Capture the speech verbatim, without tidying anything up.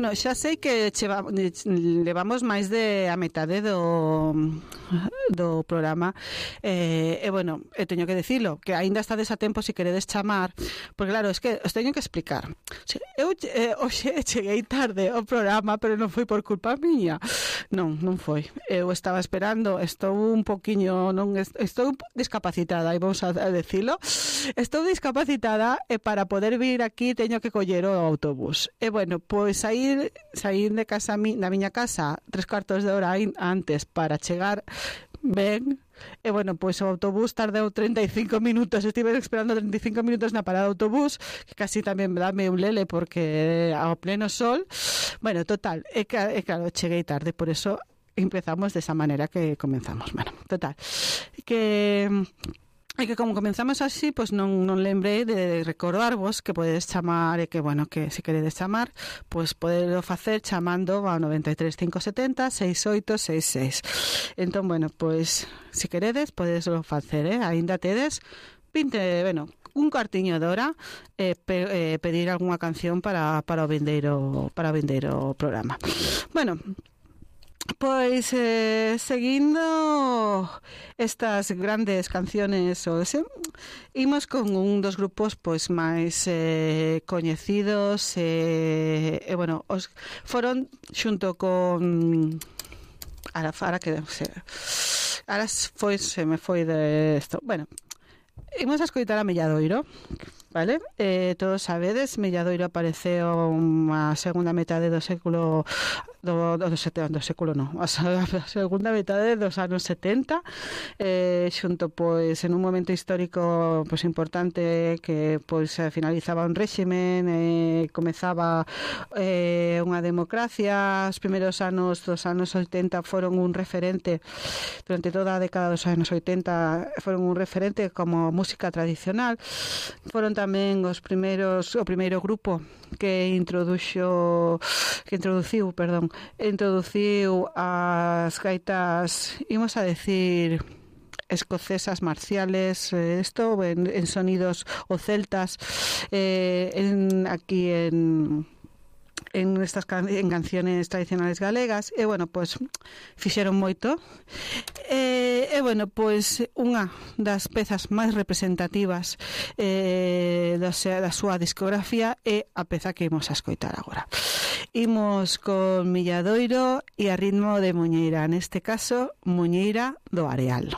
bueno, xa sei que cheva, levamos máis de a metade do do programa eh, e bueno, e teño que dicilo que aínda estades a tempo se queredes chamar, porque claro, es que os teño que explicar. Eu eh, hoxe cheguei tarde ao programa, pero non foi por culpa miña. Non, non foi. Eu estaba esperando, estou un poquiño, non estou discapacitada, e vamos a decilo. Estou discapacitada e para poder vir aquí teño que coller o autobús. E bueno, pois saír saír de casa da miña casa tres cuartos de hora antes para chegar ben. E bueno, pois o autobús tardou treinta e cinco minutos, estive esperando treinta e cinco minutos na parada de autobús, que casi tamén dame un lele porque ao pleno sol. Bueno, total, e, e claro, cheguei tarde, por eso empezamos desa maneira que comenzamos. Bueno, total, que e que como comenzamos así, pois non, non lembrei de recordarvos que podedes chamar e que, bueno, que se queredes chamar, pois podelo facer chamando ao noventa e tres, cinco setenta, sesenta e oito sesenta e seis. Entón, bueno, pois se queredes, podeslo facer, eh? Ainda tedes vinte, bueno, un cuartiño de hora eh, pe, eh, pedir algunha canción para, para o vindeiro para o vindeiro programa. Bueno, pois eh, seguindo estas grandes canciones o ese, imos con un dos grupos pois máis eh, coñecidos e, eh, bueno, os foron xunto con ahora, ahora que se, ahora foi, se me foi de esto. Bueno, imos a escoitar a Melladoiro, vale? Eh, todos sabedes, Melladoiro apareceu a segunda metade do século do, do, do, do século non, a segunda metade dos anos setenta, eh, xunto pois en un momento histórico pois importante que pois finalizaba un réximen e eh, comezaba eh, unha democracia. Os primeiros anos dos anos oitenta foron un referente, durante toda a década dos anos oitenta foron un referente como música tradicional. Foron tamén os primeiros, o primeiro grupo que introduxo que introduciu, perdón, introduciu as gaitas, imos a decir escocesas marciales, esto eh, en, en sonidos o celtas, eh, en, aquí en en estas can- en canciones tradicionales galegas, e bueno, pois fixeron moito. E, e bueno, pois unha das pezas máis representativas eh, da, da súa discografía é a peza que imos a escoitar agora. Imos con Melladoiro e a ritmo de Muñeira, neste caso Muñeira do Areal.